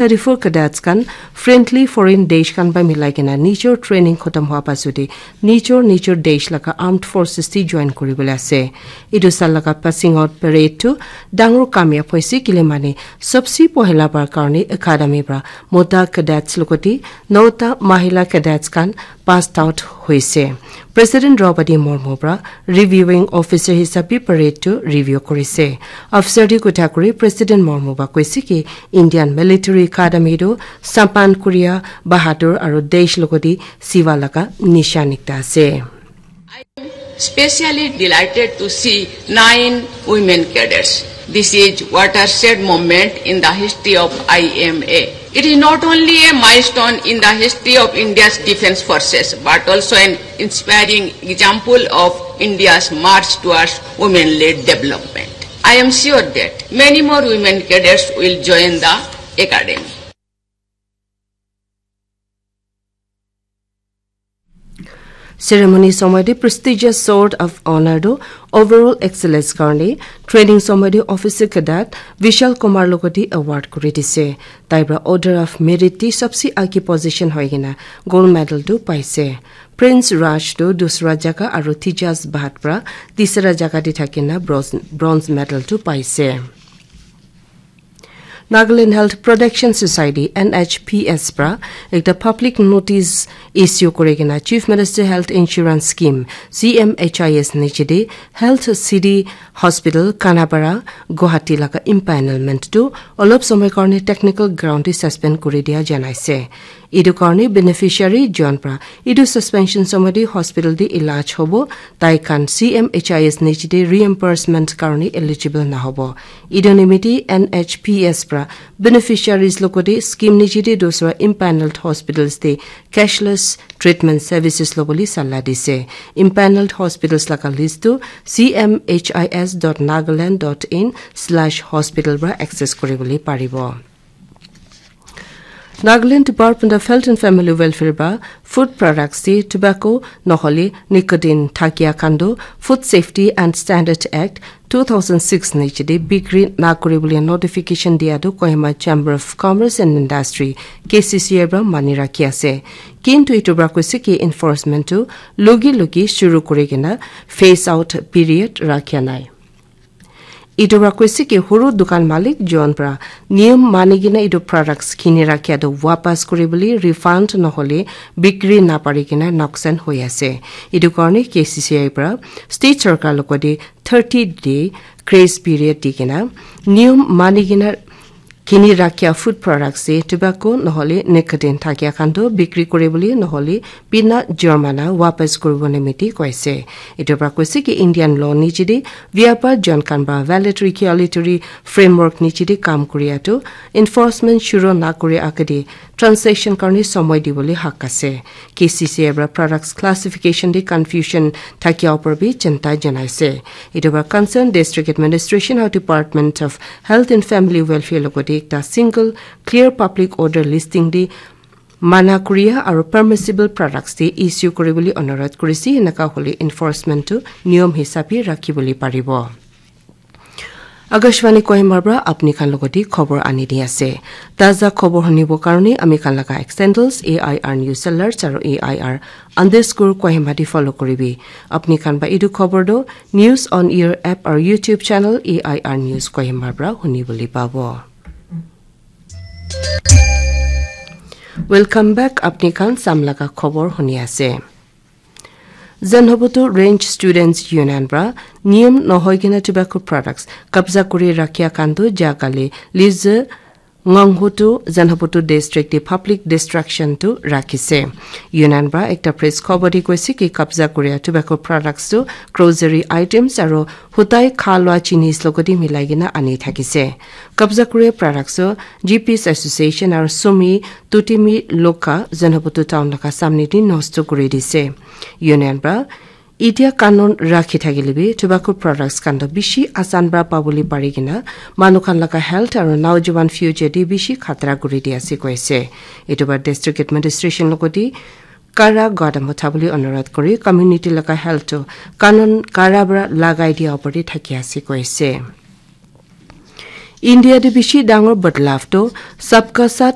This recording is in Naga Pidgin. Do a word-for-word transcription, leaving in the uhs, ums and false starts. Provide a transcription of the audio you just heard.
thirty-four cadets khan friendly foreign desh khan pa milai kena nijor training khotom hoa pasode nijor nijor desh laga armed forces te join kuribole ase. Etu sal laga passing out parade tu dangor kamyab hoise, kile mane sobse pohila bar karne academy pra mota cadets logote nota mahila cadets khan passed out hoise. President Draupadi Murmu pra reviewing officer hisabe parade tu review korise. Officer te kotha kuri President Murmu pra koise ki Indian military academy tu sampan kuria bahadur aru desh logote siva laga nishan ekta ase. Specially delighted to see nine women cadets. This is watershed moment in the history of I M A. It is not only a milestone in the history of India's defense forces, but also an inspiring example of India's march towards women-led development. I am sure that many more women cadets will join the academy. Ceremony somoy te prestigious Sword of Honor tu overall excellence karne training somoy te officer cadet Vishal Kumar logote award kuri dise. Tai pra Order of Merit te sobse age position hoi kena gold medal tu paise. Prince Raj tu dusra jaga aru Tejas Bhatt pra tisra jaga te thakina bronze, bronze medal tu paise. Nagaland Health Protection Society, N H P S pra ekta public notice issue kuri kena Chief Minister Health Insurance Scheme, C M H I S niche te Health City Hospital, Khanapara, Guwahati laga empanelment tu olop somoy karne technical ground te suspend kuri dia janaise. Etu karne beneficiary jon pra etu suspension somoy te hospital te ilaj hobo, tai khan C M H I S niche te reimbursement karne eligible nahobo. Etu nimite N H P S pra beneficiaries logote scheme niche te dusra empaneled hospitals te cashless treatment services lobole sala dise. Empaneled hospitals laga list tu C M H I S dot nagaland dot in slash hospital pra access kuribole paribo. Nagaland Department of Health and Family Welfare ba food products te tobacco nohole nicotine thakia khan tu Food Safety and Standard Act two thousand six niche te bikri na kuribole notification dia tu Kohima Chamber of Commerce and Industry, K C C I pra mani rakhi ase. Kintu etu pra koise ki enforcement tu lugi lugi shuru kuri kena phase out period rakha nai. Etu pra koise ki huru dukan malik jon pra niyom mani kena etu products kini rakhia tu wapas kuribole, refund nohole bikri napari kena noksan hoi ase. Etu karne K C C I pra state sarkar logote thirty day grace period di kena niyom mani kena kini rakhia food products te tobacco nohole nicotine thakia khan tu bikri kuribole nohole bina jormana wapas kuribo nimite koise. Etu pra koise ki Indian law niche te vyapar jon khan ba valid regulatory framework niche te kam kuria tu enforcement shuru na kuri agede transaction karne somoy dibole hak ase. K C C I pra products classification te confusion thakia upor bi chinta janaise. Etu pra concerned district administration aru Department of Health and Family Welfare logote ekta single clear public order listing te mana kuria aru permissible products te issue kuribole onurodh kurise, enaka hole enforcement tu niyom hisabe rakhibole paribo. Akashvani Kohima pra apni khan logote khobor ani di ase. Taza khobor hunibo karne ami khan laga X handles A I R News Alerts aru A I R underscore Kohima di follow kuribi. Apni khan ba etu khobor tu News on Air app aru YouTube channel A I R News Kohima pra hunibole pabo. Welcome back, apni khan sam laga khobor huni ase. Zenhobutu Range Students Union pra niyom nohoi kena tobacco products kabza kuri rakhia khan tu jaga le lize Nganghutu Zenhobutu District te public destruction tu rakhise. Union pra ekta press khobor di koise ki kabza kuria tobacco products tu grocery items aru hutai kha lua chinis logote milai kena ani thakise. Kabza kuria products tu G Ps Association aru Sumi Tutimi Loka Zenhobutu town laga samne te nosto kuri dise. Union pra itia kanun rakhi thakile bi tobacco products khan toh bishi asan pra pabole pari kena manu khan laga health aru naujawan future te bishi khatra kuri di ase koise. Etu pra district administration logote kara gadam uthabole onurodh kuri community laga health toh kanun kara pra lagai dia opor te thaki ase koise. India te bishi dangor badlav toh Sabka Saath